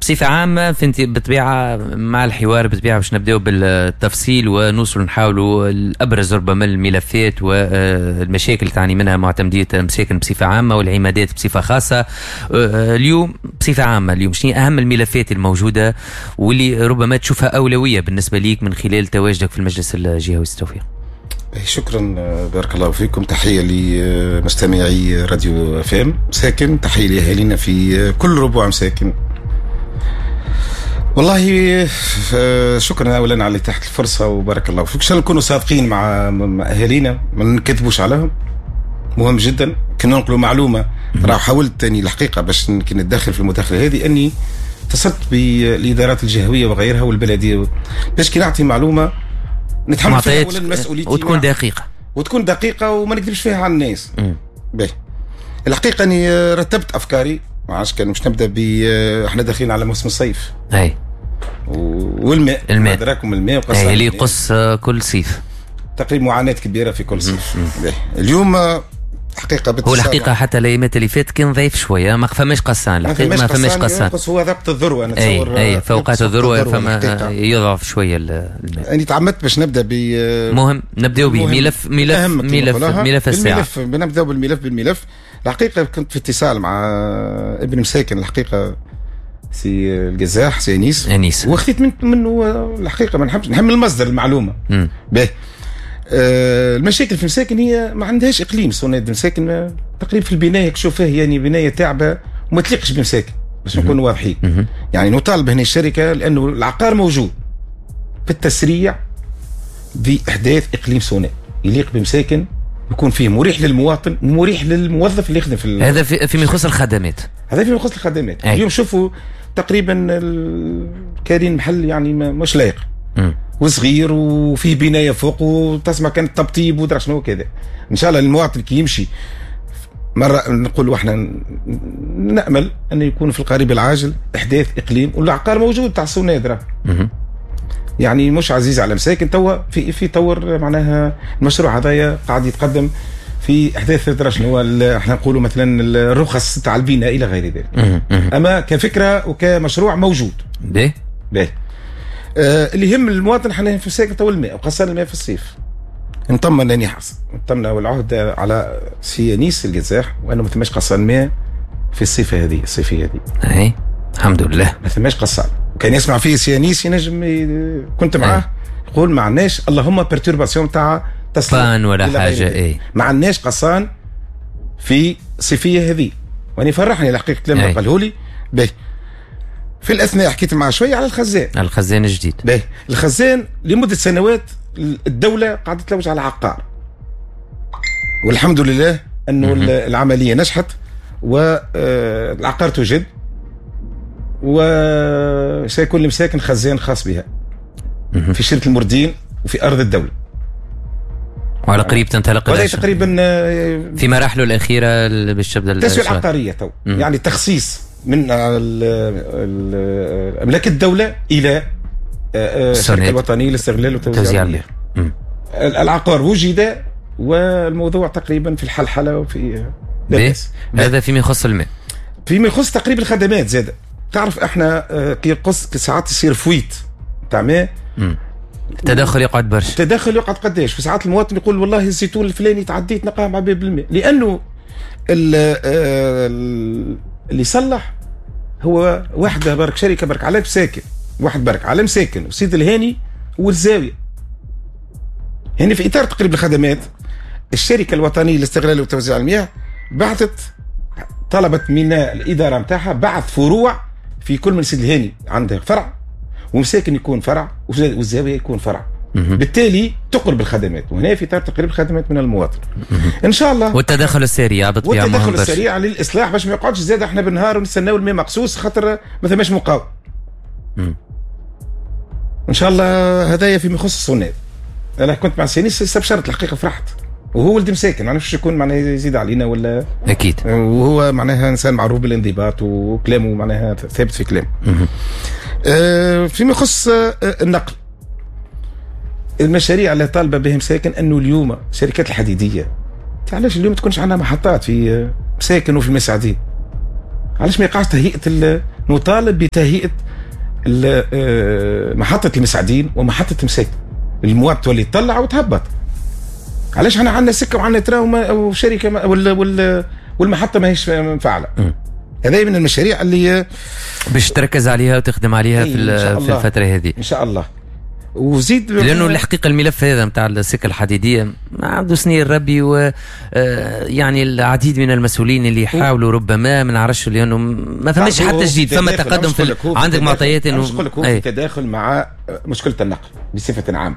بصفة عامة فانت بالطبيعة مع الحوار بالطبيعة باش نبداو بالتفصيل ونوصل نحاولوا الابرز ربما الملفات والمشاكل اللي تعاني منها معتمديه مساكن بصفة عامة والعمادات بصفة خاصة. اليوم بصفة عامة، اليوم شنو اهم الملفات الموجودة واللي ربما تشوفها اولوية بالنسبة ليك من خلال تواجدك في المجلس الجهوي التوفيق؟ شكرا، بارك الله فيكم. تحية لمستمعي راديو فام مساكن، تحية لأهالينا في كل ربوع مساكن. والله شكرا اولا على اتاحة الفرصة وبارك الله فيك. ان شاء الله نكونوا صادقين مع اهالينا، ما نكذبوش عليهم، مهم جدا كي ننقلوا معلومه. راه حاولت اني الحقيقة باش كي نتدخل في المداخلة هذه اني اتصلت بالادارات الجهوية وغيرها والبلديه باش كي نعطي معلومة نتحمل فيها اولا مسؤوليتي وتكون دقيقة. وتكون دقيقة وما نكذبش فيها على الناس. باهي، الحقيقة اني رتبت افكاري، ما عادش كان مش نبدا ب احنا داخلين على موسم الصيف. والماء. الماء. ادراكم الماء. وقص اللي يقص كل صيف. تقريبا معاناة كبيرة في كل صيف. اليوم حقيقة هو الحقيقة حتى الايامات اللي فاتت كان ضعيف شويه، ما فماش قصان الحقيقه، ما فماش قصان. هو وقت الذروه، انا نتصور. اي، في اوقات الذروة فما يضعف شوية الماء. انا تعمدت باش نبدا ب مهم نبداو به ملف ملف ملف ملف الساعه. بالملف، نبداو بالملف. الحقيقة كنت في اتصال مع ابن مساكن، الحقيقة سي القزاح، سي انيس. انيس. وخذيت منه الحقيقه، ما نحبش نحمل المصدر المعلومه. باهي، المشاكل في مساكن هي ما عندهاش اقليم صوناد مساكن. تقريبا في البناية تشوف فيه يعني بناية تعبه وما تليقش بمساكن باش نكونوا واضحين. يعني نطالب هنا الشركه، لانه العقار موجود، في التسريع باحداث اقليم صوناد يليق بمساكن، يكون فيه مريح للمواطن ومريح للموظف اللي يخدم في هذا فيما يخص الخدمات. هذا فيما يخص الخدمات. اليوم شوفوا تقريبا كارين محل يعني مش لايق وصغير وفيه بناية فوق وتسمع كان تبطيب ودرا شنو كذا. ان شاء الله المواطن كي يمشي مرة نقول احنا نامل ان يكون في القريب العاجل احداث اقليم، والعقار موجود تاع الصوناد، يعني مش عزيز على مساكن. توا في طور معناها المشروع هذايا قاعد يتقدم في احداث درا شنو احنا نقولوا مثلا الرخص تاع البناء الى غير ذلك. اما كفكرة وكمشروع موجود. باهي. باهي، اللي يهم المواطن احنا في مساكن تو الماء، وخاصة الماء في الصيف. نطمن اني حصل نطمن والعهد على سي انيس القزاح وانه ما ثماش قصان ماء في الصيفه هذه، الصيفية هذه. اي، الحمد لله. ما ثماش قصان. كان يسمع فيه سي انيس ينجم، كنت معاه، يقول ما عندناش اللهم perturbation تاع تصليح ولا حاجه. اي. ما عندناش قصان في الصيفية هذه، واني فرحني الحقيقة لما قاله لي. باهي، في الاثناء حكيت معاه شوية على الخزان. الخزان الجديد. باهي، الخزان لمدة سنوات الدولة قاعدة تلوج على عقار، والحمد لله انه العملية نجحت والعقار توجد، وسيكون لمساكن خزان خاص بها في شركة المردين وفي ارض الدوله. وعلى قريب تنطلق. وهذا تقريبا في مراحله الاخيرة باش تبدا. التسوية العقارية تو، يعني تخصيص من املاك الدولة الى الشركة الوطنية للاستغلال وتوزيع المياه. العقار وجد والموضوع تقريبا في الحلحله وفي هذا فيما يخص الماء. فيما يخص تقريبا الخدمات زاد، تعرف احنا كي قص ساعات يصير fuite تاع ماء. التدخل يقعد برشا. التدخل يقعد قداش، في ساعات المواطن يقول والله الزيتون الفلاني تعديت نلقاه معبي بالماء، لانه اللي صلح هو واحدة برك، شركة برك على مساكن، واحد برك على مساكن وسيد الهاني والزاويه. هنا في اطار تقريب الخدمات، الشركة الوطنية لاستغلال وتوزيع المياه بعثت، طلبت من الادارة نتاعها بعث فروع في كل من سيد الهاني عندها فرع، ومساكن يكون فرع، والزاويه يكون فرع. بالتالي تقرب الخدمات، وهنا في اطار تقريب الخدمات من المواطن ان شاء الله. والتدخل السريع بالطبيعه. والتدخل السريع للاصلاح باش ما يقعدش زاد احنا بالنهار ونستناو الماء مقصوص خاطر ما ثماش مقاومه. ان شاء الله هذايا فيما يخص الصوناد. انا كنت مع سي انيس استبشرت الحقيقه، فرحت، وهو ولد مساكن، ما نعرفش يكون معناها يزيد علينا ولا. اكيد. وهو معناها انسان معروف بالانضباط وكلامه معناها ثابت في كلامه. فيما يخص النقل، المشاريع اللي طالبه بهم مساكن انه اليوم الشركات الحديدية، علاش اليوم تكونش عندنا محطات في مساكن وفي المساعدين؟ علاش ما يقعش تهيئة نطالب بتهيئه محطة المسعدين ومحطه مساكن. المواد تولي تطلع وتهبط. علاش احنا عندنا سكة وعندنا train وشركه والمحطه ماهيش مفعله؟ هذا من المشاريع اللي باش تركز عليها وتخدم عليها في الفترة هذه ان شاء الله. وزيد لانه الحقيقة الملف هذا نتاع السكة الحديدية ما عنده سنين ربي، و يعني العديد من المسؤولين اللي يحاولوا ربما ما نعرفش، لانه ما فماش حتى جديد، فما تقدم في عندك معطيات انه نقول لك هو في تداخل مع مشكلة النقل بصفة عامة.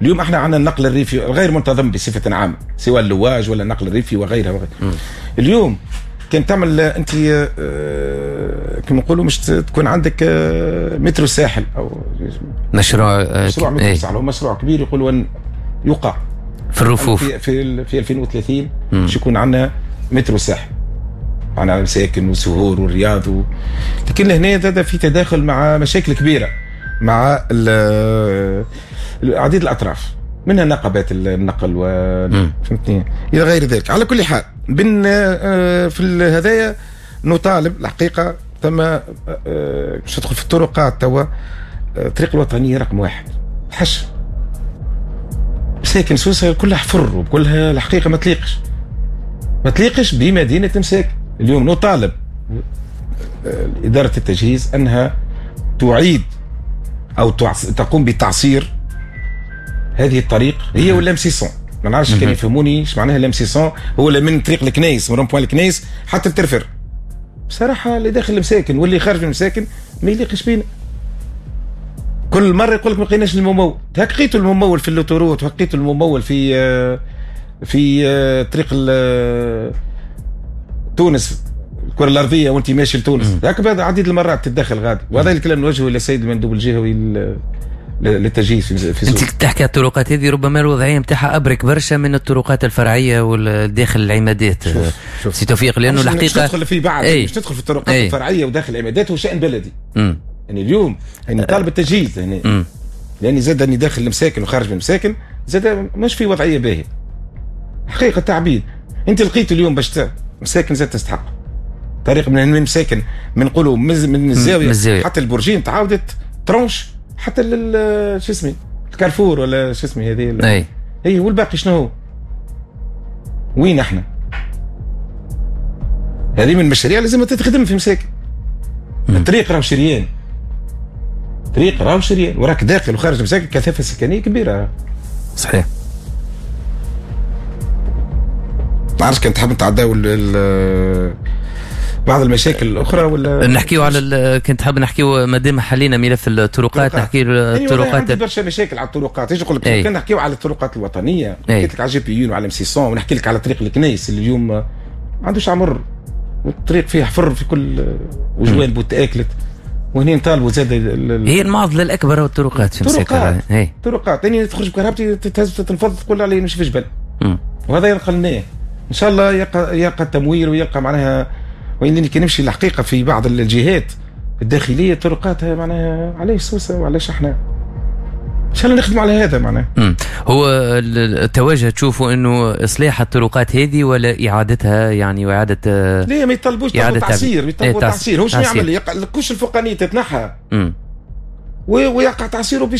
اليوم احنا عندنا النقل الريفي غير منتظم بصفة عامة، سواء اللواج ولا النقل الريفي وغيرها وغيرها. اليوم كان تعمل انت كما نقولوا مش تكون عندك مترو الساحل او مشروع مترو الساحل، هو مشروع كبير يقولوا ان يقع في الرفوف في 2030 باش يكون عندنا مترو الساحل، عندنا مساكن وسهور والرياض لكن هنا هذا في تداخل مع مشاكل كبيرة مع عديد الاطراف، منها نقابات النقل و فهمتني الى غير ذلك. على كل حال بن في هذايا نطالب الحقيقة ثم باش تدخل في الطرقات توا، الطريق الوطنية رقم 1 حش مساكن سوسة كلها حفر وكلها الحقيقة ما تليقش بمدينة مساكن. اليوم نطالب ادارة التجهيز انها تعيد او تقوم بتعصير هذه الطريق، هي ولا M 600، ما نعرفش كان يفهموني ايش معناها ال M 600، هو من طريق الكنيس من rond-point الكنيس حتى الترفر. بصراحة اللي داخل المساكن واللي خارج المساكن ما يليقش بينا. كل مرة يقول لك ما لقيناش الممول، لقيتوا الممول في l'autoroute، لقيتوا الممول في في طريق تونس الكره الارضية وانت ماشي لتونس، هكذا عديد المرات تتدخل غادي. وهذا الكلام نوجهه الى السيد المندوب الجهوي للتجهيز في انت تحكي على الطرقات هذه ربما الوضعية نتاعها ابرك برشا من الطرقات الفرعية والداخل العمادات. سي توفيق، لانه الحقيقة مش تدخل في بعض، مش تدخل في الطرقات الفرعية وداخل العمادات، هو شان بلدي. يعني اليوم يعني طالب التجهيز هنا، لاني زاد اني داخل المساكن وخارج من المساكن زاد مش في وضعية باهيه حقيقة تعبيد. انت لقيت اليوم باش مساكن زاد تستحق طريق من مساكن من نقولوا من الزاوية حتى البرجين تعاودت tranche حتى شو اسمه الكارفور ولا شو اسمه هذه اي، والباقي شنو هو؟ وين احنا؟ هذه من المشاريع لازم تتخدم في مساكن. الطريق راهو شريان، طريق راهو شريان وراك داخل وخارج مساكن كثافة سكنية كبيرة. صحيح. ما عرفتش كان تحب نتعداو بعض المشاكل الاخرى ولا نحكيو على كنت حاب نحكيو مادام حلينا ملف الطرقات نحكي الطرقات. عندي برشا مشاكل على الطرقات. ايش نقول لك؟ كان نحكيو على الطرقات الوطنية، حكيت لك على GPU وعلى M 600، ونحكي لك على طريق الكنيس اللي اليوم ما عندوش عمر، والطريق فيه حفر في كل وجوانبه تاكلت. وهنا نطالبوا زاد هي المعضلة الاكبر هو الطرقات في مساكن. الطرقات يعني تخرج بكرهبتي تتهز تنفض تقول علي نمشي في جبل. وهذا ينقلناه ان شاء الله يلقى التمويل ويلقى معناها. وإنني كي نمشي الحقيقة في بعض الجهات الداخلية طرقاتها معناها علاش سوسة وعلاش احنا ان شاء الله نخدموا على هذا معناها. هو التوجه تشوفوا انه اصلاح الطرقات هذه ولا اعادتها، يعني واعاده ليه ما يطلبوش تعصير، يطلبوا تعصير. هو شنو يعمل؟ ال couche الفوقانيه تتنحى ويقع تعصيره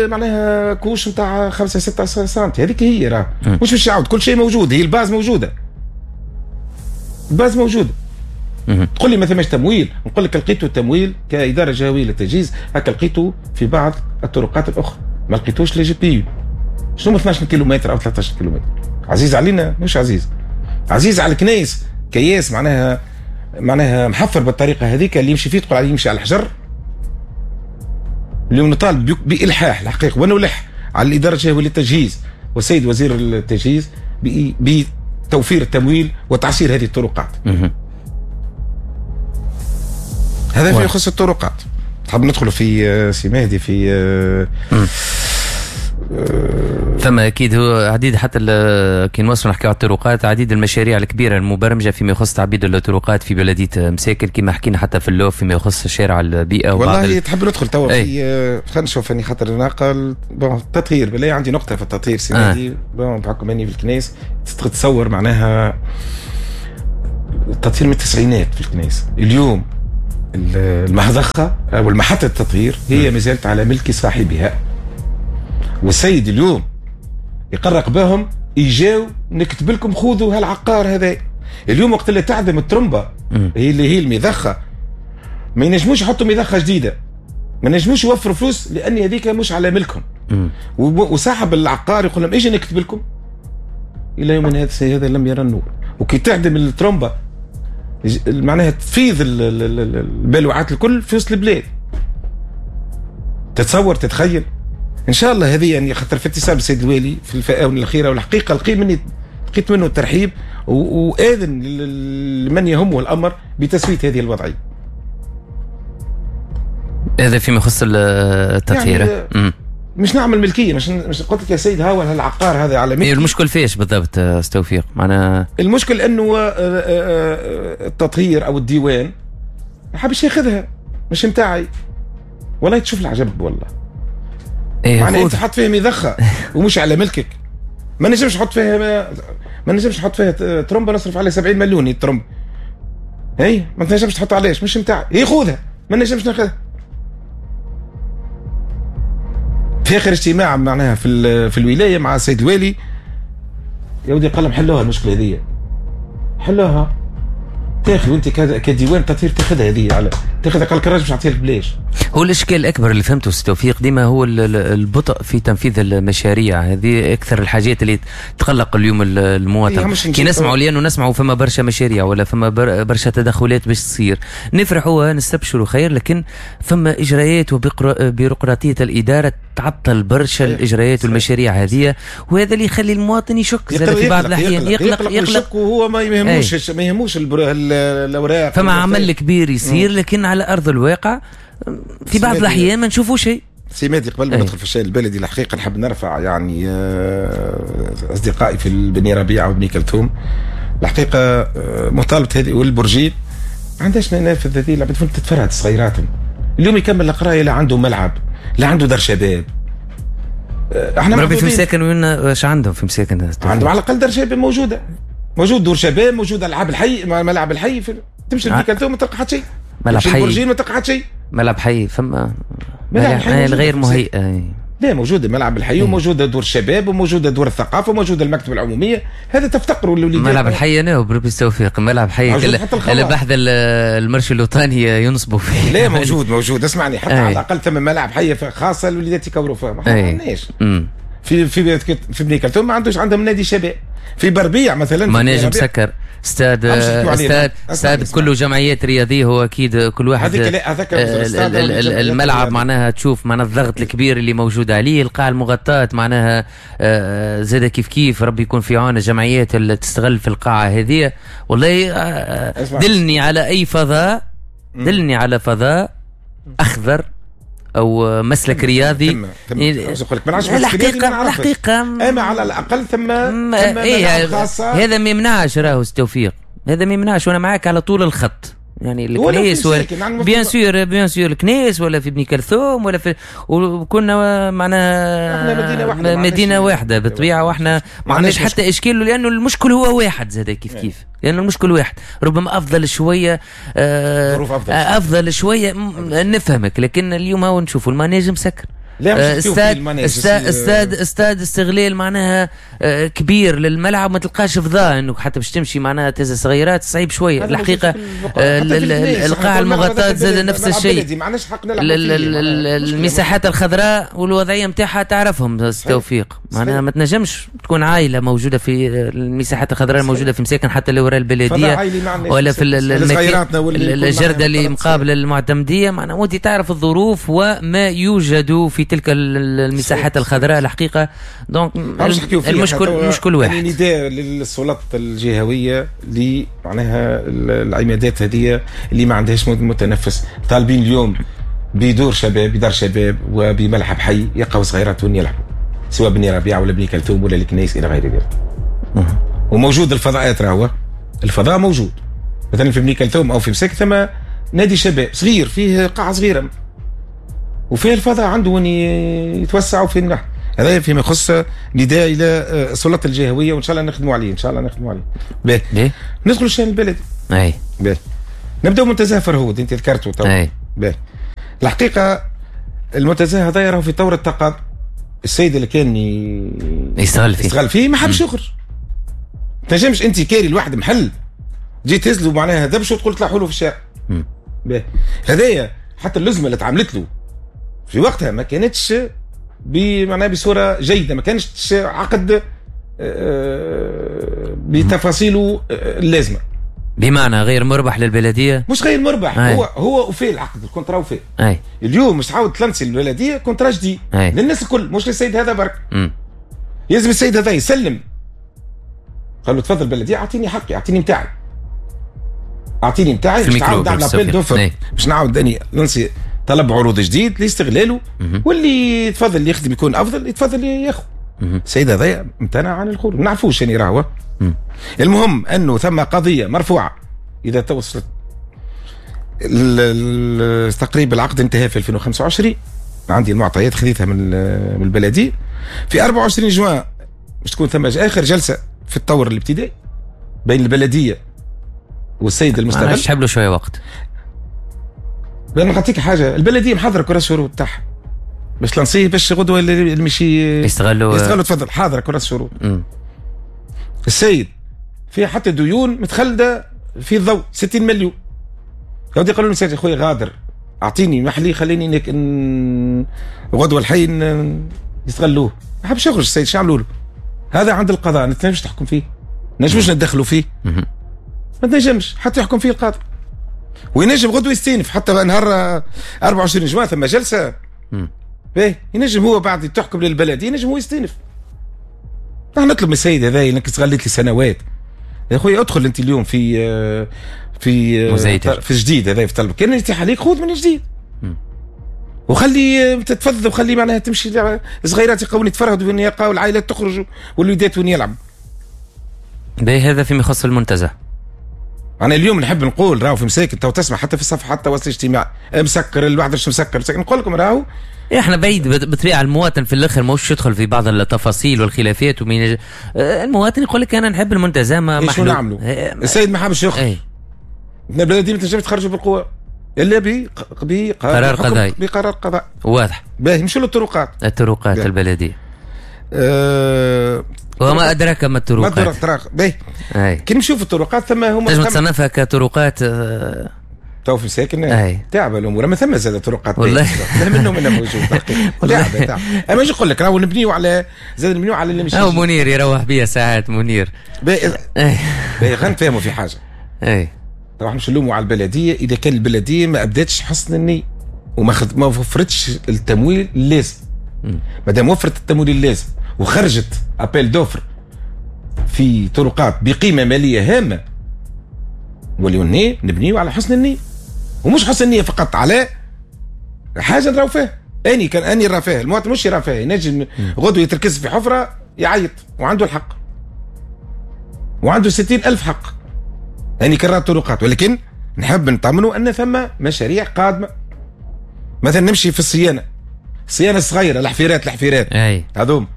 معناها couche نتاع 5 6 سنتي، هذيك هي راه مش باش يعاود، كل شيء موجود، هي ال base موجودة، ال base موجودة. تقول لي ما ثماش تمويل، نقول لك لقيتوا التمويل كإدارة جهوية للتجهيز، هكا لقيتوا في بعض الطرقات الأخرى، ما لقيتوش les GPU. شنو 12 كيلومتر أو 13 كيلومتر؟ عزيز علينا؟ مش عزيز. عزيز على الكنايس، كياس معناها محفر بالطريقة هذيك اللي يمشي فيه تقول عليه يمشي على الحجر. اليوم نطالب بإلحاح الحقيقة ونلح على الإدارة الجهوية للتجهيز والسيد وزير التجهيز بتوفير التمويل وتعصير هذه الطرقات. هذا في يخص الطرقات. تحب ندخل في سي مهدي في ثم اكيد هو عديد حتى كي نوصلوا نحكيو على الطرقات، عديد المشاريع الكبيرة المبرمجه فيما يخص تعبيد الطرقات في بلديه مساكن كما حكينا حتى في اللوف فيما يخص شارع البيئة. والله تحب ندخل توا في خلينا نشوف اني خاطر ناقل bon التطهير، بالله عندي نقطة في التطهير سي مهدي. bon بحكم اني في الكنيس تتصور معناها التطهير من التسعينات في الكنيس. اليوم المضخه او المحطة التطهير هي ما زالت على ملك صاحبها، والسيد اليوم يقرق بهم يجاو نكتب لكم خذوا هالعقار هذا. اليوم وقت اللي تعدم الترمبه هي اللي هي المضخه، ما ينجموش يحطوا مضخه جديدة، ما ينجموش يوفروا فلوس لان هذيك مش على ملكهم. وصاحب العقار يقول لهم اجي نكتب لكم. الى يوم هذا لم يرى النور. وكي تعدم الترمبه معناها تفيض البلوعات الكل في وسط البلاد. تتصور تتخيل؟ ان شاء الله هذه يعني خاطر في اتصال بالسيد الوالي في الاونة الاخيرة، والحقيقة لقيت منه الترحيب واذن لمن يهمه الامر بتسويه هذه الوضعية. هذا فيما يخص التطهير. يعني مش نعمل ملكية، مش قلت لك يا سيد هاو العقار هذا على ملكي. المشكل فيش بالضبط توفيق؟ معناها المشكل انه التطهير او الديوان ما حبش ياخذها، مش نتاعي. والله تشوف العجب والله. إيه معناها انت حط فيها مضخه ومش على ملكك. ما نجمش نحط فيها، ما نجمش نحط فيها ترمبه نصرف عليها 70 مليون الترمبه. هي ما تنجمش تحط علاش مش نتاعي، هي خذها، ما نجمش ناخذها. في اخر اجتماع معناها في الولاية مع السيد الوالي يا ودي قال لهم حلوها المشكلة هذه، حلوها. تاخذ وانت كديوان تطهير تاخذها هذه على تاخذها، قال لك الراجل باش نعطيها لك بلاش. هو الاشكال الاكبر اللي فهمته سي توفيق ديما هو البطء في تنفيذ المشاريع، هذه اكثر الحاجات اللي تقلق اليوم المواطن. كي نسمعوا لانه نسمعوا فما برشا مشاريع ولا فما برشا تدخلات باش تصير، نفرحوا نستبشروا خير، لكن فما اجراءات وبيروقراطيه الادارة تعطل برشا الاجراءات والمشاريع هذه، وهذا اللي يخلي المواطن يشك في بعض الاحيان، يقلق يقلق وهو ما يهموش ما يهموش الاوراق. فما عمل كبير يصير لكن على ارض الواقع في بعض الاحيان ما نشوفوا شيء. سي مهدي قبل ما ندخل في الشيء البلدي الحقيقة نحب نرفع يعني اصدقائي في بني ربيعة وبني كلثوم الحقيقة مطالبه هذه والبرجين ما عندهاش منافذ هذه العباد تتفرهد صغيراتهم. اليوم يكمل القراية لا عنده ملعب لا عنده دار شباب. احنا ربي في مساكن وين اش عندهم في مساكن؟ عندهم على الاقل دار شباب موجودة، موجود دور شباب، موجود العاب الحي، ملعب الحي تمشي لبني كلثوم ما تلقى حتى شيء، ملعب حي البرجين ما تلقى حتى شيء، ملعب حي فما ملعب حي الغير مهيئة. لا موجودة ملعب الحي وموجودة دور الشباب وموجودة دور الثقافة وموجودة المكتبة العمومية، هذا تفتقروا للوليدات. ملعب الحي انا وبربي التوفيق ملعب حي اللي بحذا المرشد الوطني ينصبوا فيه. لا موجود موجود اسمعني، حتى على الاقل ثم ملعب حي خاصة الوليدات يكوروا فيها، ما عندناش. في في في بني كلثوم ما عندوش، عندهم نادي شباب. في بربيع مثلا مناجم مسكر، استاد استاد استاد كله جمعيات رياضية، هو اكيد كل واحد الملعب معناها تشوف معناها الضغط الكبير اللي موجود عليه، القاعة المغطاه معناها زاد كيف كيف، ربي يكون في عون الجمعيات اللي تستغل في القاعة هذه. والله دلني على اي فضاء، دلني على فضاء اخضر او مسلك رياضي. الحقيقة الحقيقة اما على الاقل ثم إيه خاصة. هذا ما يمنعش راهو التوفيق، هذا ما يمنعش، وانا معاك على طول الخط. يعني الكنيس ولا bien sûr bien sûr الكنيس ولا في بني كلثوم ولا في، وكنا معناها مدينة واحدة، مدينة واحدة بالطبيعة، واحنا ما عندناش حتى اشكال لانه المشكل هو واحد زاد كيف كيف، لانه المشكل واحد. ربما افضل شوية افضل شوية نفهمك، لكن اليوم هو نشوفوا ال manège مسكر، استاد استاد استاد استغلال معناها كبير للملعب، ما تلقاش فضاء انه حتى باش تمشي معناها تهز صغيرات صعيب شوية الحقيقة. القاعة المغطاه زاد نفس الشيء، المساحات الخضراء والوضعيه نتاعها تعرفهم توفيق، معناها ما تنجمش تكون عائلة موجودة في المساحات الخضراء الموجودة في مساكن حتى اللي وراء البلدية ولا في الجرده اللي مقابله المعتمديه، معناها وانت تعرف الظروف وما يوجد في تلك المساحات الخضراء الحقيقة. donc المشكل واحد. يعني نداء للسلطات الجهوية اللي معناها العمادات هذه اللي ما عندهاش متنفس، طالبين اليوم بدور شباب، بدار شباب وبملعب حي يلقاو صغيراتهم يلعبوا، سواء بني ربيعة ولا بني كلثوم ولا الكنيس الى غير ذلك. وموجود الفضاءات، راهو الفضاء موجود. مثلا في بني كلثوم او في مساك ثم نادي شباب صغير فيه قاعة صغيرة وفيه الفضاء عنده وين يتوسع وفين نحن. هذا فيما يخص نداء الى السلطات الجهوية، وان شاء الله نخدموا عليه، ان شاء الله نخدموا عليه. باهي ندخلوا الشان البلدي. اي باهي. نبداو منتزه فرهود، انت ذكرته تو. باهي. الحقيقة المنتزه هذا راهو في طور التقاضي. السيد اللي كان يستغل فيه ما حبش يخرج. تنجمش انت كاري الواحد محل جيت تهزلو معناها دبش وتقول طلعوا له في الشارع. باهي. هذايا حتى اللزمه اللي تعاملت له في وقتها ما كانتش معناها بصورة جيدة، ما كانش عقد بتفاصيله اللازمة. بمعنى غير مربح للبلديه؟ مش غير مربح. أي. هو وفي العقد ال contrat وفي. أي. اليوم مش تعاود تلنسي البلدية contrat جديد للناس الكل، مش للسيد هذا برك. يلزم السيد هذا يسلم. قال له تفضل البلدية اعطيني حقي، اعطيني نتاعي. اعطيني نتاعي باش نعاود نعمل appel d'offres، باش نعاود اني ننسي طلب عروض جديد لاستغلاله، واللي يتفضل اللي يخدم يكون افضل يتفضل ياخذ. السيد هذا امتنع عن الخروج، ما نعرفوش يعني راهو. المهم انه ثم قضية مرفوعة اذا توصلت تقريبا العقد انتهى في 2025، عندي المعطيات خذيتها من البلدية. في 24 جوان باش تكون ثم اخر جلسه في الطور الابتدائي بين البلدية والسيد المستغل. تحب له شوية وقت. لأن نعطيك حاجة، البلدية محضرة كراس الشروط تاعها باش تلانسيه باش غدوه اللي مشي يستغلوا. تفضل حاضره كراس الشروط. السيد في حتى ديون متخلده في الضوء 60 مليون. يا قالوا له يا خويا غادر، اعطيني محلي خليني غدوه الحي يستغلوه. ما حبش يخرج السيد، شو عملوا له؟ هذا عند القضاء، ما تنجمش تحكم فيه، ما نجموش ندخلوا فيه، ما تنجمش حتى يحكم فيه القاضي. وينجم غدوه يستينف حتى نهار 24 جوان ثم جلسه. باهي ينجم هو بعد تحكم للبلديه ينجم هو يستينف. نحن نطلب من السيد هذا انك استغليت لي سنوات يا خويا، ادخل انت اليوم في في في جديد هذا في طلب كان يتيح عليك خذ من جديد وخلي تتفضل وخلي معناها تمشي صغيرات يقاو يتفرهدوا وين يلقاو العائلات تخرج والوليدات وين يلعبوا. باهي هذا فيما يخص المنتزه. انا اليوم نحب نقول راهو في مساكن تو تسمع حتى في الصفحات التواصل الاجتماعي مسكر الواحد مش مسكر، نقول لكم راهو احنا بعيد بالطبيعة المواطن في الاخر ماهوش يدخل في بعض التفاصيل والخلافات ومين. المواطن يقول لك انا نحب المنتزه ما شو نعملوا؟ السيد ما حابش يخرج. البلدية ما تنجمش تخرجوا بالقوة الا بقرار قضائي، بقرار قضائي واضح. باهي نمشوا للطرقات. الطرقات البلدية. وما ادراك ما الطرقات. ما الطرق. باهي كي نمشيو في الطرقات ثم هما تنجم تصنفها كطرقات تو في مساكن تعب الامور، ما ثم زاد طرقات والله منه منه موجود تعب تعب. اما نجي نقول لك راهو نبنيو على زاد نبنيو على اللي مش او منير يروح بيا ساعات منير. باهي خلينا نتفاهموا في حاجة. اي طبعا مش نلوموا على البلدية اذا كان البلدية ما ابدتش حسن النية وما ما وفرتش التمويل اللازم. ما دام وفرت التمويل اللازم وخرجت appel d'offres في طرقات بقيمة ماليه هامة، نوليو نبنيو على حسن النية، ومش حسن النية فقط، على حاجة نراو فيها. اني كان اني راه فيها، المواطن مش يرى فيها، ينجم غدوه يتركز في حفره يعيط وعنده الحق وعنده 60,000 حق. اني كرر الطرقات، ولكن نحب نطمنوا ان ثم مشاريع قادمة. مثلا نمشي في الصيانة، الصيانة الصغيرة، الحفيرات هذوم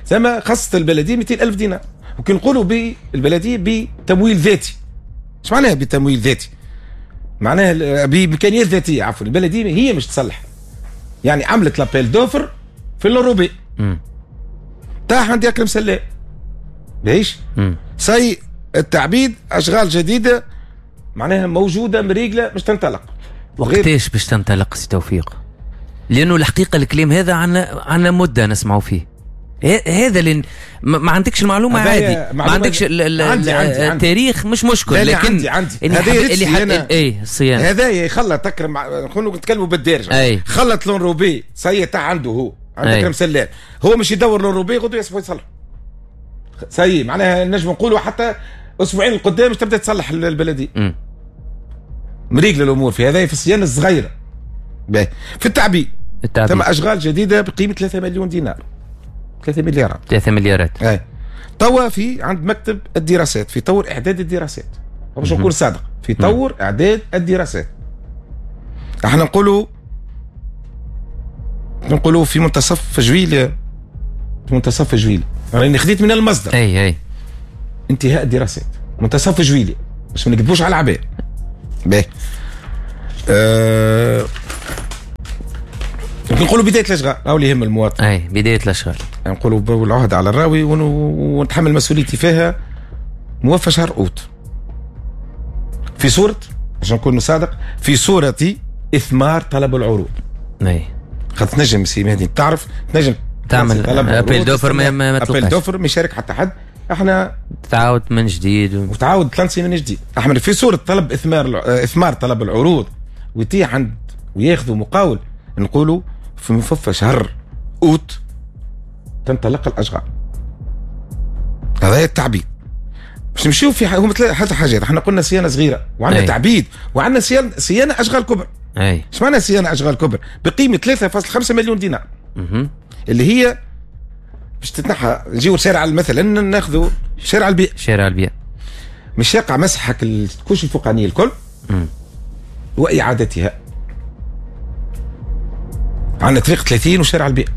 ثم خصت البلدية 200,000 دينار. وكي نقولوا بالبلديه بتمويل ذاتي، ايش معناها بتمويل ذاتي؟ معناها بامكانيات ذاتية، عفوا البلدية هي مش تصلح. يعني عملت l'appel d'offres في l'enrobé تاع عند اكرم سلام باهيش سي التعبيد، اشغال جديدة معناها موجودة مريقله باش تنطلق. وقتاش باش تنطلق سي توفيق؟ لانه الحقيقة الكلام هذا عنا مده نسمعوا فيه. هذا اللي ما عندكش المعلومة عادي، ما عندكش التاريخ مش مشكل، لكن عندي اللي ايه الصيانة هذا يخلط تكرم، نكونوا نتكلموا بالدارجة، خلط l'enrobé ça y est تاع عنده هو عند اكرم سلام، هو مش يدور l'enrobé غدوه يصبح يصلح ça y est، معناها نجم نقولوا حتى اسبوعين القدام باش تبدا تصلح البلدية. مريق للامور في هذا في الصيانة الصغيرة. في التعبيد ثم اشغال جديدة بقيمة 3 مليون دينار، 3 مليارات. 3 مليارات. اي توا في عند مكتب الدراسات في طور اعداد الدراسات، باش نكون صادق، في طور اعداد الدراسات. احنا نقولوا في منتصف جويلية، في منتصف جويلية، راني خديت من المصدر. اي انتهاء الدراسات منتصف جويلية باش ما نكذبوش على العباد. باهي. نقولوا بداية الاشغال، او اللي يهم المواطن. اي بداية الاشغال. نقولوا العهد على الراوي ونتحمل مسؤوليتي فيها موفى شهر اوت. في صوره، عشان نكون صادق، في صوره اثمار طلب العروض. اي خاطر تنجم سي مهدي تعرف تنجم تعمل appel d'offres، ما appel d'offres ما يشارك حتى حد، احنا تعاود من جديد وتعاود تلانسي من جديد. احنا في صوره طلب اثمار طلب العروض ويتيح عند وياخذوا مقاول، نقولوا في مففى شهر اوت تنطلق الاشغال. هذا التعبيد. باش نمشيو في هم ثلاث حاجات، احنا قلنا صيانة صغيرة وعندنا تعبيد وعندنا صيانة اشغال كبرى. اي ايش معنى صيانة اشغال كبرى؟ بقيمة 3.5 مليون دينار. اللي هي باش تتنحى، نجيو شارع مثلا ناخذوا شارع البيئة. شارع البيئة مش يقع مسحك ال couche الفوقانيه الكل واعادتها. عندنا طريق 30 وشارع البيئة.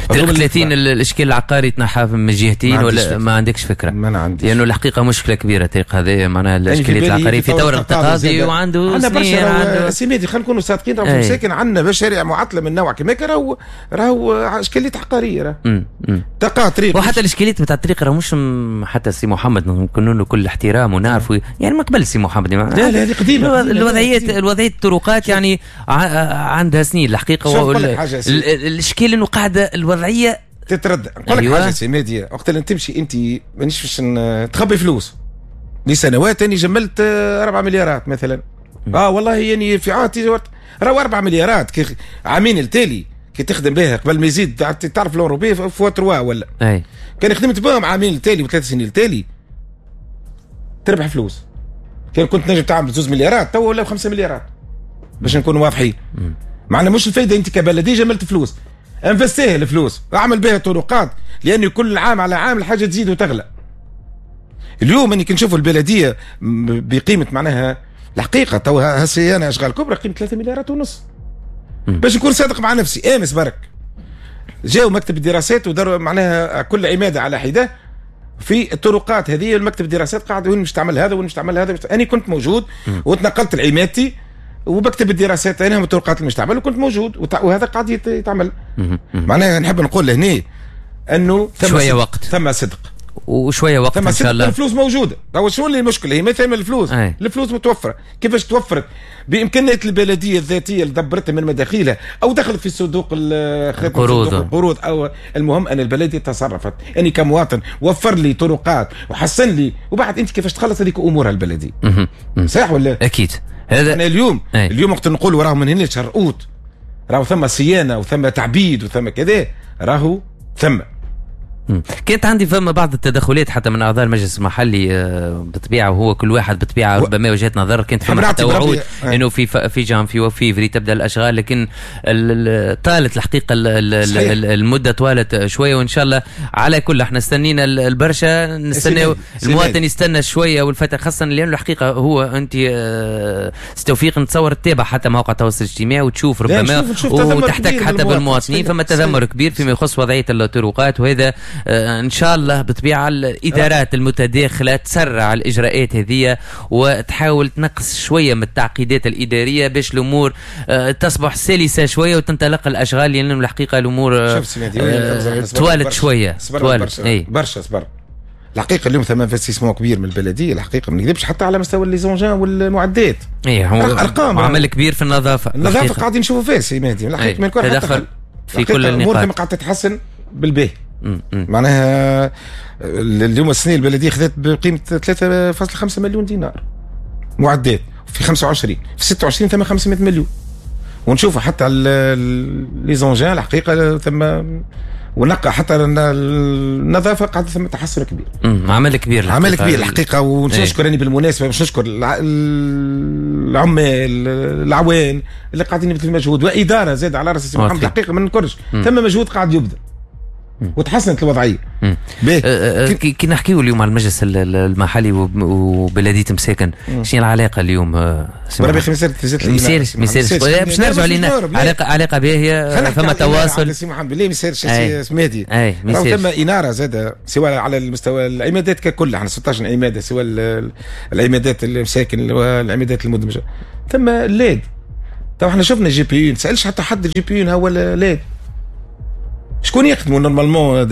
طريق 30 الاشكال العقاري تنحى من جهتين ولا ما عندكش فكرة؟ ما عنديش، لانه الحقيقة مشكلة كبيرة الطريق هذا، معناها الاشكاليات العقارية في طور التقاضي وعنده سنين، عنده سي خلينا نكونوا صادقين، راهو مساكن عندنا مشاريع معطلة من نوع كما راهو اشكاليات عقارية، راه تلقى طريق، وحتى الاشكاليات نتاع الطريق راه مش حتى سي محمد نكونوا له كل احترام ونعرفوا يعني من قبل سي محمد، لا لا هذه قديمة الوضعية الطرقات يعني عندها سنين الحقيقة. الاشكال انه قاعدة الوضعية تتردد. نقول لك أيوة. حاجة سي مهدي، وقت اللي تمشي انت مانيش باش تخبي فلوس لسنوات، اني جملت 4 مليارات مثلا. والله يعني في عهدي راهو 4 مليارات كي عامين التالي كي تخدم بها قبل ما يزيد، تعرف l'enrobé fois 3 ولا أي. كان خدمت بهم عامين التالي وثلاث سنين التالي تربح فلوس. كان كنت نجم تعمل 2 مليارات تو ولا 5 مليارات باش نكونوا واضحين. معنا مش الفايدة انت كبلديه جملت فلوس، investir الفلوس، اعمل بها طرقات، لان كل عام على عام الحاجة تزيد وتغلى. اليوم اني كي نشوفوا البلدية بقيمة معناها الحقيقة تو هالصيانه اشغال كبرى قيمة 3 مليارات ونص. باش نكون صادق مع نفسي، امس برك جاوا مكتب الدراسات وداروا معناها كل عماده على حده في الطرقات هذه. المكتب الدراسات قاعد وين مش تعمل هذا وين مش تعمل هذا. انا كنت موجود وتنقلت لعمادتي وبكتب الدراسات انا الطرقات اللي مش تعمل وكنت موجود وهذا قاعد يتعمل. معناها نحب نقول لهنا انه ثم شوية وقت، ثم صدق وشوية وقت ان شاء الله. الفلوس موجودة. تو شنو اللي المشكلة؟ هي ما ثم الفلوس. الفلوس متوفرة. كيفاش توفرت؟ بامكانيات البلدية الذاتية اللي دبرتها من مداخيلها او دخلت في صندوق القروض، او المهم ان البلدية تصرفت. اني كمواطن وفر لي طرقات وحسن لي، وبعد انت كيفاش تخلص هذيك امورها البلدية. صح ولا؟ اكيد. هذا احنا اليوم اليوم وقت نقول راهو من هنا لشهر اوت راهو ثم صيانة وثم تعبيد وثم كذا، راهو ثم كانت عندي فما بعض التدخلات حتى من اعضاء المجلس المحلي بالطبيعة، وهو كل واحد بالطبيعة ربما وجهه نظر. كانت فما حتى وعود انه في جانفي وفيفري تبدا الاشغال، لكن طالت الحقيقة المدة طوالت شوية، وان شاء الله على كل احنا استنينا البرشا، نستناو المواطن يستنى شوية والفترة، خاصة لانه الحقيقة هو انت توفيق نتصور تتابع حتى مواقع التواصل الاجتماعي وتشوف ربما وتحتك حتى بالمواطنين، فما تذمر كبير فيما يخص وضعية الطرقات، وهذا ان شاء الله بطبيعة الادارات المتداخله تسرع الاجراءات هذه وتحاول تنقص شوية من التعقيدات الادارية باش الامور تصبح سلسه شوية وتنطلق الاشغال، لان الحقيقة الامور توالت شوية، توالت برشا صبر. الحقيقة اليوم ثم investissement كبير من البلدية، الحقيقة ما نكذبش حتى على مستوى les engins والمعدات. ايه ارقام عمل كبير في النظافة، النظافة قاعدين نشوفوا فيها سي مهدي الحقيقة ما يكون تدخل في كل النقاط، الامور قاعدة تتحسن بالباهي. معناها اليوم السنة البلدية خذت بقيمة 3.5 مليون دينار معدات في 25، في 26 ثم 500 مليون، ونشوفوا حتى les engins الحقيقة ثم ونقى حتى النظافة قاعدة ثم تحسن كبير. عمل كبير، عمل كبير الحقيقة. ونشكر اني بالمناسبة باش نشكر العمال العوان اللي قاعدين يبذلوا مجهود، واداره زاد على راس محمد الحقيقة ما ننكرش ثم مجهود قاعد يبذل. وتحسنت الوضعية. كي نحكيو اليوم على المجلس المحلي وبلديه مساكن، شنو العلاقة اليوم؟ بربي ما يسالش باش نرجعوا لنا علاقة باهيه، فما تواصل. سي محمد بالله ما يسالش سمادي، راهو ثم انارة زاده سواء على المستوى العمادات ككل، احنا 16 عماده سواء العمادات المساكن والعمادات المدمجه، ثم ال LED. تو احنا شفنا GPU، ما تسالش حتى حد ال GPU هو ال LED شكون يخدموا normalement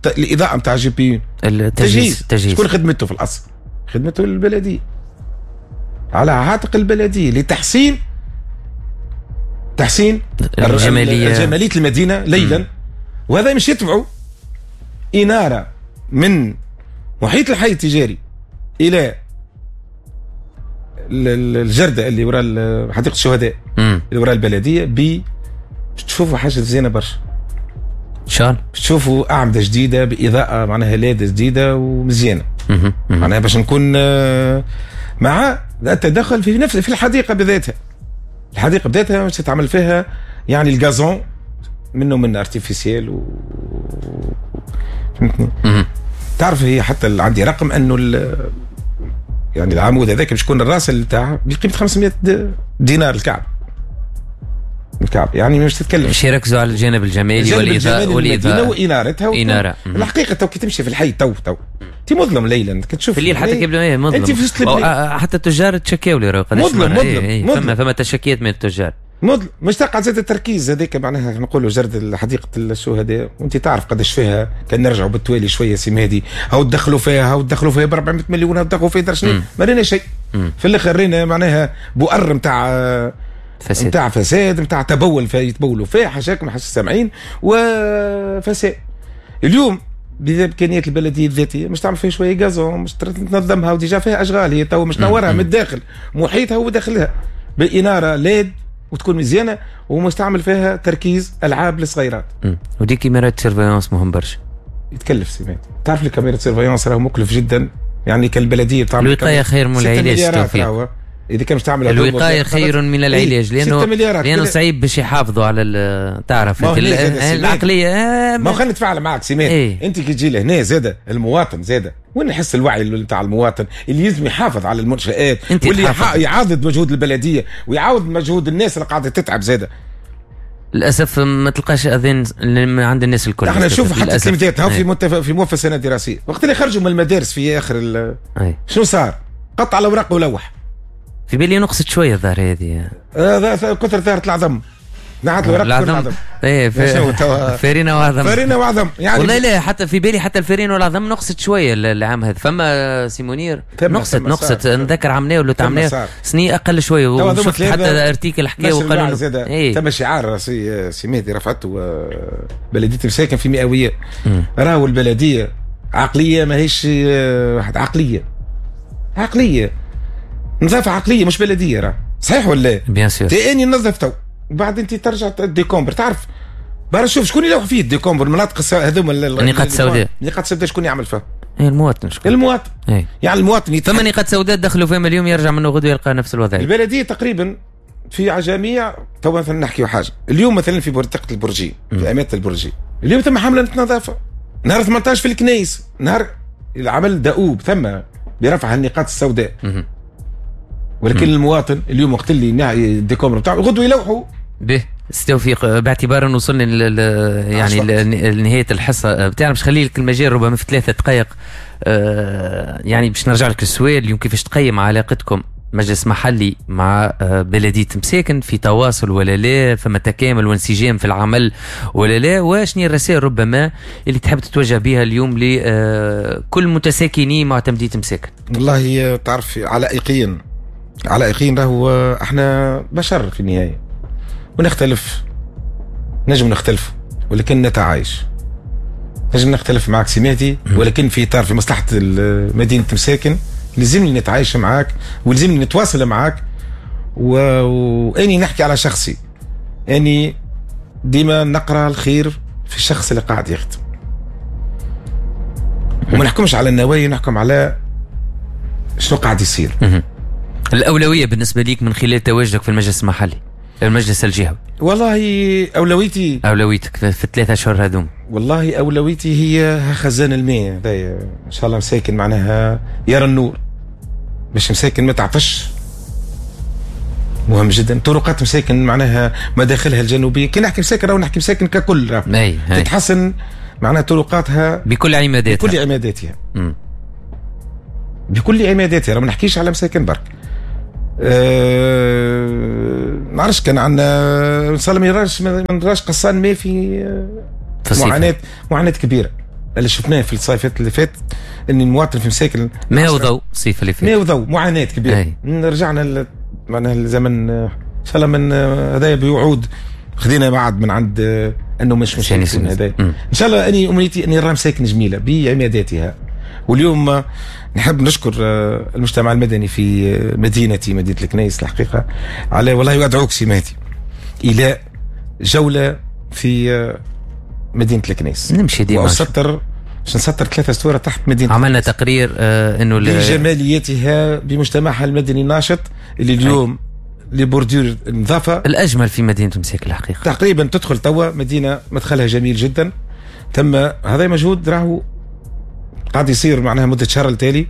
الاضاءة نتاع GPU؟ التجهيز. شكون خدمته في الاصل؟ خدمته البلدية، على عاتق البلدية لتحسين تحسين الجمالية المدينة ليلا. وهذا مش يتبعوا انارة من محيط الحي التجاري الى الجرده اللي وراء حديقة الشهداء اللي وراء البلدية، ب تشوفوا حاجة زينة برشا. شان تشوفوا اعمدة جديدة باضاءه معناها LED جديدة ومزيانه، معناها باش نكون مع التدخل في نفس في الحديقة بذاتها. الحديقة بذاتها باش تتعمل فيها يعني ال gazon منه من artificiel و فهمتني؟ تعرف هي حتى عندي رقم انه يعني العمود هذاك باش يكون الراس تاعه بقيمة 500 دينار الكعب. الكعب يعني مش تتكلم. باش يركزوا على الجانب الجمالي والاضاءة وانارتها انارة. الحقيقة تو كي تمشي في الحي تو انت مظلم ليلا كتشوف في الليل حتى كي مظلم انت في حتى التجار تشكاو لي مظلم مظلم فما تشكيات من التجار مظلم. مش تقعد زاد التركيز هذاك معناها نقولوا جرد حديقة الشهداء وانت تعرف قداش فيها. كان نرجعوا بالتوالي شوية سي مهدي، هاو تدخلوا فيها هاو تدخلوا فيها ب 400 مليون، هاو تدخلوا فيها درشني، ما رينا شيء. في الاخر رينا معناها بؤر نتاع فساد، نتاع فساد، نتاع تبول، يتبولوا فيه حاشاكم حاش السامعين وفساد. اليوم بامكانيات البلدية الذاتية مش تعمل فيها شوية gazon، مش تنظمها و déjà فيها اشغال هي تو مش نورها من الداخل محيطها وداخلها بالاناره LED وتكون مزيانه، ومش تعمل فيها تركيز العاب للصغيرات. و des caméras surveillance مهم برشا. يتكلف سيمات، تعرف ال caméra surveillance راهو مكلف جدا، يعني كالبلديه تعمل الوقاية خير من العلاج توفيق. اذا كان مش تعمل الوقاية خير من العلاج، لانه صعيب باش يحافظوا على تعرف العقلية. ما خلينا نتفاعل معك سيمات. إيه؟ انت كي تجي لهنا زاده المواطن زاده وين نحس الوعي نتاع المواطن اللي لازم يحافظ على المنشآت واللي يعاضد مجهود البلدية ويعاود مجهود الناس اللي قاعدة تتعب زاده. للاسف ما تلقاش اذان عند الناس الكل. احنا نشوف حتى التلميذات في موفى سنة دراسية وقت اللي خرجوا من المدارس في اخر شنو صار؟ قطع الاوراق ولوح. في بالي نقصت شوية الظاهر هذه. كثر ظاهره العظم. نعت الورق العظم. ايه فرينه وعظم. فرينه وعظم يعني والله لا حتى في بالي حتى الفرينة والعظم نقصت شوية العام هذا. فما سي منير نقصت نذكر عمناه ولا تعمناه سنين اقل شوية، وشفت حتى article حكاو وقالوا إيه؟ ثم شعار سي مهدي رفعته بلديه مساكن في مئوية. راهو البلدية عقلية ماهيش واحد عقلية عقلية نظافة عقلية مش بلديه، راه صحيح ولا؟ bien sûr. تاني نظف تو بعد انت ترجع décombres، تعرف برا شوف شكون يلوح فيه ال décombres المناطق هذوما النقاط السوداء. النقاط السوداء شكون يعمل فيها؟ اي المواطن. شكون؟ المواطن. ايه. يعني المواطن ثم نقاط سوداء دخلوا فيهم اليوم يرجع منه غدوه يلقى نفس الوضعية. البلدية تقريبا في جميع تو مثلا نحكيو حاجة اليوم مثلا في منطقة البرجي في امانه البرجي اليوم ثم حمله نظافة نهار 18 في الكنيس، نهار العمل دؤوب ثم برفع النقاط السوداء. ولكن المواطن اليوم وقت اللي ال décombres نتاعو غدوه يلوحوا به. توفيق باعتبار ان وصلنا يعني لنهاية الحصة بتاعنا باش نخلي لك المجال ربما في 3 دقائق، يعني باش نرجع لك السؤال اليوم كيفاش تقيم علاقتكم مجلس محلي مع بلدية مساكن، في تواصل ولا لا، فما تكامل وانسجام في العمل ولا لا، وشنو الرسائل ربما اللي تحب تتوجه بها اليوم لكل متساكني معتمدية مساكن؟ والله تعرف علائقيا علائقيا راهو احنا بشر في النهاية ونختلف، نجم نختلف ولكن نتعايش. نجم نختلف معك سماتي ولكن في اطار في مصلحة مدينة مساكن لازمني نتعايش معاك ولازمني نتواصل معاك. واني نحكي على شخصي، اني ديما نقرا الخير في الشخص اللي قاعد يخدم وما نحكمش على النوايا، نحكم على شنو قاعد يصير. الأولوية بالنسبة ليك من خلال تواجدك في المجلس المحلي المجلس الجهوي؟ والله أولويتي أولويتك في ال3 أشهر هذوم والله اولويتي هي خزان الماء هذايا، ان شاء الله مساكن معناها يرى النور، باش مساكن ما تعطش، مهم جدا. طرقات مساكن معناها مداخلها الجنوبية، كي نحكي مساكن راهو نحكي مساكن ككل، تتحسن معناها طرقاتها بكل عماداتها، بكل عماداتها، بكل عماداتها، راه ما نحكيش على مساكن برك. ما عرفش كان عندنا ان شاء الله ما نراش قصان ما في معاناة كبيرة اللي شفناه في الصيفات اللي فات، ان المواطن في مساكن ما هو ضوء الصيف اللي فات، ما هو ضوء، معاناة كبيرة. رجعنا معناها الزمن ان شاء الله من هذايا بوعود خذينا بعد من عند انه مش هذا. ان شاء الله اني امنيتي اني نرى مساكن جميلة بعماداتها. واليوم نحب نشكر المجتمع المدني في مدينتي مدينة الكنيس الحقيقة على والله وادعوك سي مهدي الى جولة في مدينة الكنيس. نمشي ديما واسطر باش نسطر 3 سطور تحت مدينة. عملنا تقرير انه بجماليتها بمجتمعها المدني الناشط اللي اليوم les bordures النظافة الاجمل في مدينة مساكن الحقيقة. تقريبا تدخل توا مدينة مدخلها جميل جدا. تم هذا مجهود راهو قاعد يصير معناها مده شهر التالي،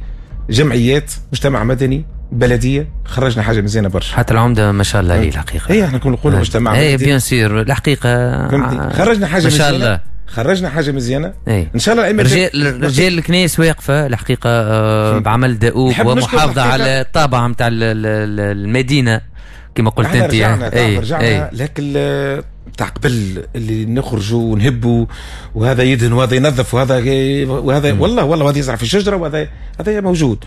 جمعيات، مجتمع مدني، بلديه، خرجنا حاجة مزيانه برشا. حتى العمدة ما شاء الله عليه الحقيقة. اي احنا كنا نقولوا مجتمع مدني. اي bien sûr الحقيقة خرجنا حاجة مزيانه ما شاء الله، خرجنا حاجة مزيانه. أي. ان شاء الله رجال الكنيس واقفة الحقيقة بعمل دؤوب ومحافظة على الطابع نتاع المدينة كما قلت انت. رجعنا لكن تاع قبل اللي نخرجوا ونهبوا وهذا يدهن وهذا ينظف وهذا والله وهذا يزرع في الشجرة وهذا هذا موجود.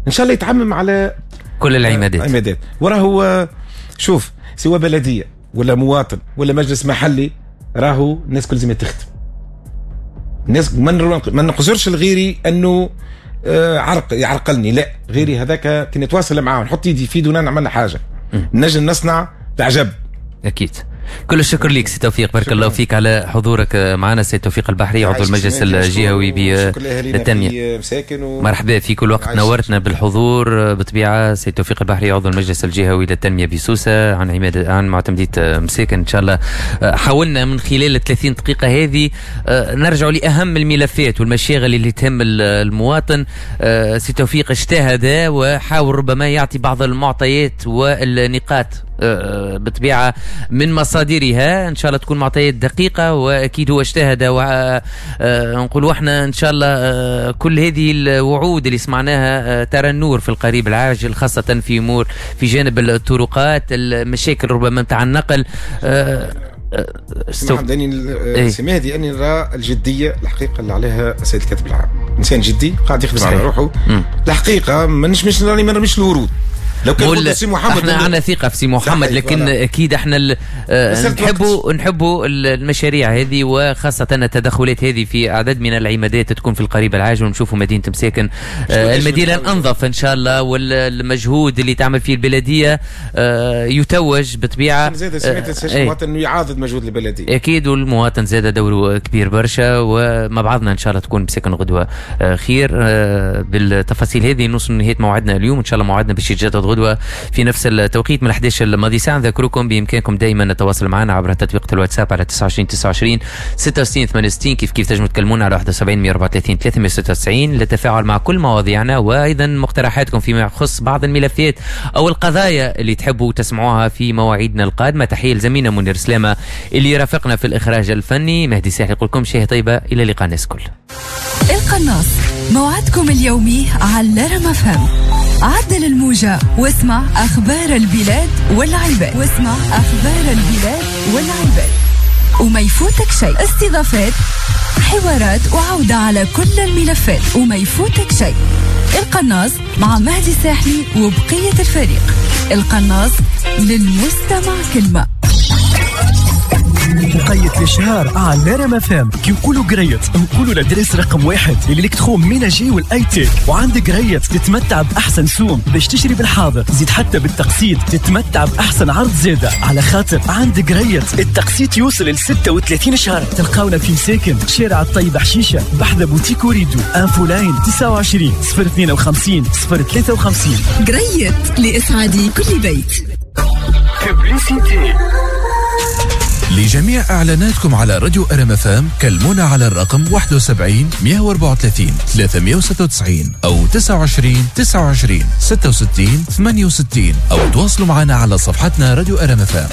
ان شاء الله يتعمم على كل العمادات. وراهو شوف سواء بلديه ولا مواطن ولا مجلس محلي، راهو الناس كل لازم تخدم. الناس ما نقصرش لغيري انه يعرقلني، لا غيري هذاك كي نتواصل معاه نحط يدي في يده نعمل حاجة نجم نصنع تعجب. اكيد. كل الشكر لك سي توفيق، بارك الله فيك على حضورك معنا. سي توفيق البحري عضو المجلس الجهوي للتنمية، مرحبا في كل وقت، نورتنا بالحضور. بطبيعة سي توفيق البحري عضو المجلس الجهوي للتنمية بسوسة عن معتمدية مساكن. إن شاء الله حاولنا من خلال 30 دقيقة هذه نرجع لأهم الملفات والمشاغل اللي تهم المواطن. سي توفيق اجتهد وحاول ربما يعطي بعض المعطيات والنقاط بطبيعة من مصادرها، إن شاء الله تكون معطيات دقيقة، وأكيد هو اجتهد. ونقولوا احنا إن شاء الله كل هذه الوعود اللي سمعناها ترى النور في القريب العاجل، خاصة في أمور في جانب الطرقات، المشاكل ربما نتاع النقل. سي مهدي أني نرى الجدية الحقيقة اللي عليها السيد الكاتب العام، إنسان جدي قاعد يخدم على روحه الحقيقة. مش راني ما نرميش الورود. لو كان سي محمد احنا عندنا ثقة في سي محمد، لكن اكيد احنا نحبوا المشاريع هذه، وخاصة التدخلات هذه في اعداد من العمادات تكون في القريب العاجل، ونشوفوا مدينة مساكن المدينة الانظف ان شاء الله، والمجهود اللي تعمل فيه البلدية يتوج بطبيعة. زاد سمعت المواطن انه يعاضد مجهود البلدية، اكيد، والمواطن زاد دوره كبير برشا، ومع بعضنا ان شاء الله تكون مساكن غدوه خير. بالتفاصيل هذه نوصل لنهاية موعدنا اليوم، ان شاء الله موعدنا باش يتجدد غدوة في نفس التوقيت من 11 الماضي ساعة. نذكركم بإمكانكم دائما التواصل معنا عبر تطبيق الواتساب على 29 29 66 68، كيف كيف تنجموا تكلمونا على 71 134 396 للتفاعل مع كل مواضيعنا، وأيضا مقترحاتكم فيما يخص بعض الملفات أو القضايا اللي تحبوا تسمعوها في مواعيدنا القادمة. تحية لزميلنا منير سلامة اللي رافقنا في الإخراج الفني. مهدي ساحل يقول لكم شهية طيبة، إلى اللقاء الناس كل. القناص موعدكم اليومي على رام أف أم. عدل الموجة واسمع أخبار البلاد والعباد، واسمع أخبار البلاد والعباد، وما يفوتك شيء. استضافات، حوارات، وعودة على كل الملفات، وما يفوتك شيء. القناص مع مهدي الساحلي وبقية الفريق. القناص للمستمع كلمة. وقيت الاشهار على رام أف أم. كي نقولوا قريت نقولوا l'adresse رقم 1 l'électroménager وال high-tech، وعند قريت تتمتع باحسن سوم باش تشري بالحاضر، زيد حتى بالتقسيط تتمتع باحسن عرض زاده، على خاطر عند قريت التقسيط يوصل ل 36 شهر. تلقاونا في مساكن شارع الطيب حشيشه بحذا بوتيك وريدو. infoline 29 052 053. قريت لاسعاد كل بيت. Publicité. لجميع اعلاناتكم على راديو ار ام اف ام كلمونا على الرقم 71 134 396 او 29 29 66 68 او تواصلوا معنا على صفحتنا راديو ار ام اف ام.